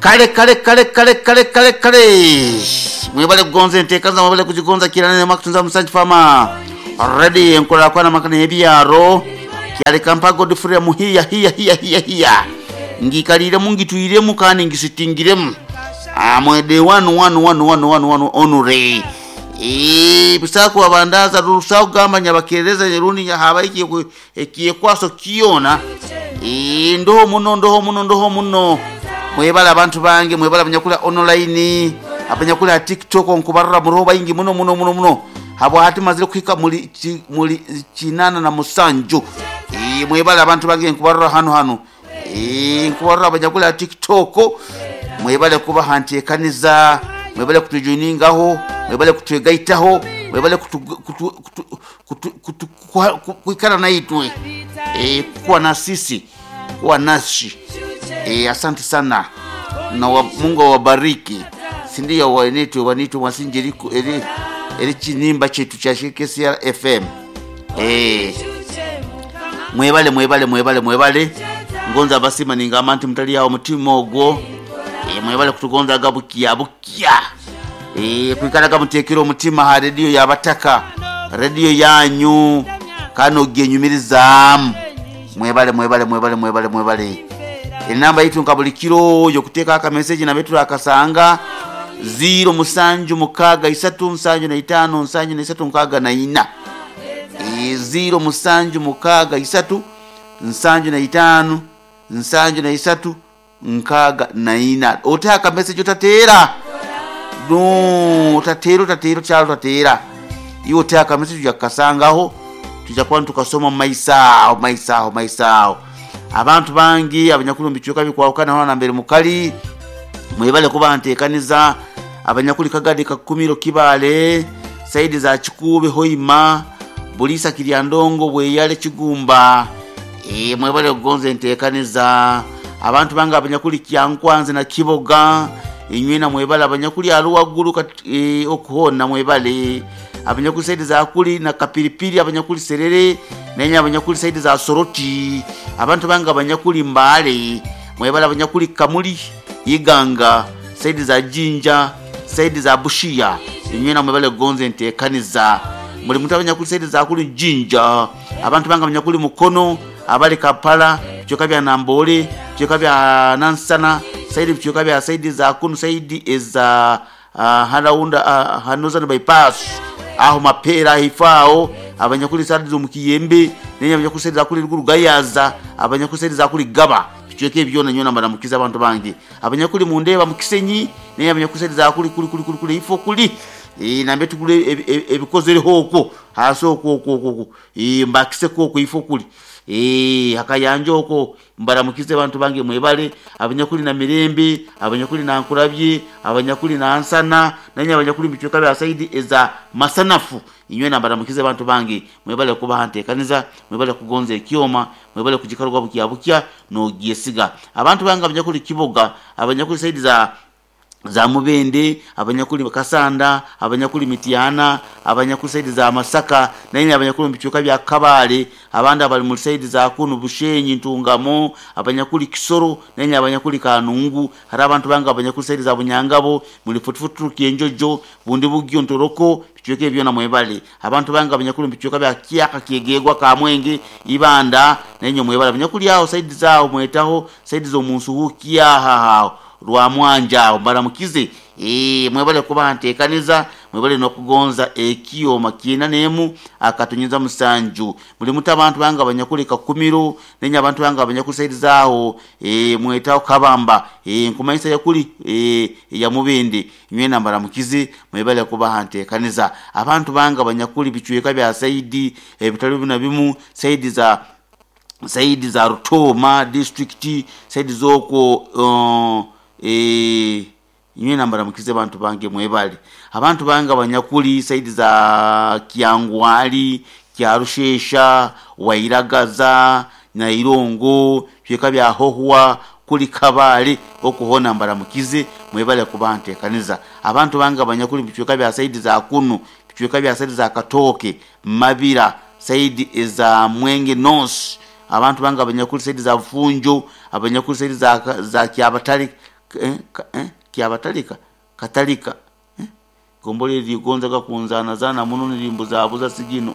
Kale kale kale kale kale kale kale mwebale kugonza enteekaniza mwebale kugigonza kirana makutunza musanji fama ready enkola kwana makana ebyaro kyale kampa Godfrey muhiya hiya hiya hiya hiya ngikaliremu ngitwiremu kandi ngisitingiremu amwede wanu wanu wanu wanu wanu wanu onure busaku abandaza rusaku gamba nyabakereza rundi haba ekiyekwaso kiyona ndoho muno ndoho muno ndoho muno mwebala abantu bange mwebala abanyakula online abanyakula TikTok nkubarra muroho baingi muno muno muno muno habo hati mazire kuhika muli muli 87. Mwebala abantu bange nkubarra hano hano nkubarra abanyakula TikTok mwebale kuba hantekaniza mwebale kutujoiningaho mwebale kutwegaitaho mwebale kuikara naitwe kuwa na sisi kuwa nasi. Asante sana na Mungu awabariki sindiyo wanitwe wanitwe wasinjiriku eri chinimba chetu cha KCR FM. Mwebale mwebale mwebale mwebale ngonza basima ningamba nti mutali yawo mutima ogwo. Mwebale kutugonza gabukia bukia kwikaraga mutekera omutima ha radio yabataka radio yanyu kano genyumirizaamu mwebale mwebale mwebale mwebale mwebale. Enamba yitu nka buli kiro yokuteeka aka message na betu akasanga 0 7 6 75 73 64 0 7 6 75 73 64 otaka message otatera no otatera otatera kyalo tatera iwo otaka message yakasangaho tujja kuba tukasoma maisao maisao maisao. Abantu bangi abanyakulu mbichuka bikwawukana hano mbere mukali mwebale kuba ntekaniza abanyakuli kagadi kakumiro kibale saidi za Kikube Hoima Bulisa Kiryandongo bweyale Kigumba mwebale kugonza ntekaniza abantu bangi abanyakuli Kyankwanze na Kiboga inywena mwebale abanyakuli aluwagulu okuhona mwebale abanyakuli saidi za kuli na Kapiripiri abanyakuli Serere nenya abanyakuli saidi za Soroti abantu banga abanyakuli Mbale mwebale abanyakuli Kamuli Iganga saidi za Jinja saidi za Bushia inywena mwebale gonze ntekaniza muli muntu abanyakuli saidi za kuli Jinja abantu banga abanyakuli Mukono abali Kampala byoka bya Nambole byoka bya Nansana saidi byoka bya saidi za kunu saidi eza haraunda Hanozan bypass aho mapera hifao abanyakuli saidi zo mukiyembe nenya abanyakuli saidi za kuli Rugayaza abanyakuli saidi za kuli Gaba bichweke byona nyona mbaramukiza abantu bange abanyakuli mundeba mukisenyi nenya abanyakuli saidi za kuli kuli kuli kuli ifo kuli nambe tukule ebikozere hoko haso ko ko ko mbakise ko ko ifo kuli hakayanja oko mbaramukize abantu bange mwebale abanyakuli na Mirembe abanyakuli na Nkurabye abanyakuli na Ansana nanya abanyakuli bichweka bya saidi eza Masanafu inywe na mbaramukize abantu bange mwebale kuba hantekaniza mwebale kugonza ekyoma mwebale kujikarwa bukia bukia no gyesiga abantu bange abanyakuli Kiboga abanyakuli saidi za Mubende abanyakuli Kasanda abanyakuli Mitiana abanyakuli saidi za Masaka nanye abanyakuli bichuka bya Kabale abandi abali mu saidi za kunu Bushenyi Ntungamo abanyakuli Kisoro nanye abanyakuli Kanungu hari abantu banga abanyakuli saidi za Bunyangabo muri Futufutu Kienjojo bundi bugyo Ntoroko bichuke byona mwebale abantu banga abanyakuli bichuka bya Kiyaka Kiegegwa Kamwenge Ibanda nanye mwebale abanyakuli aho saidi zao mwetaho saidi zo munsuhukia haha rwa mwanja mbaramukize mwebale kuba ntekaniza mwebale nokugonza ekiyo makina nemu akatunyuza musanju muli muta abantu banga abanyakuli Kakumiro nenya abantu banga abanyakuli saidi zao mwetaho Kabamba nkumayisa yakuli ya Mubende nywena mbaramukize mwebale kuba ntekaniza abantu banga abanyakuli bichweka bya saidi ebitali bina bimu saidi za Rutoma district saidi zoko nywena mbaramukize abantu bange mwebale abantu bange abanyakuli saidi za Kyangwali Kyarushesha Wairagaza Nairongo byeka bya Hohwa kuli Kabale okuhona mbaramukize mwebale kuba ntekaniza abantu bange abanyakuli bichweka bya saidi za kunu bichweka bya saidi za Katoke Mabira saidi za Mwenge North abantu bange abanyakuli saidi za Funjo abanyakuli saidi za Kyabatali Eh, Kyabatalika, Katalika. Eh, Gombolola eri ligonzaga kunzanazana muno nirimbuzabuza sigino.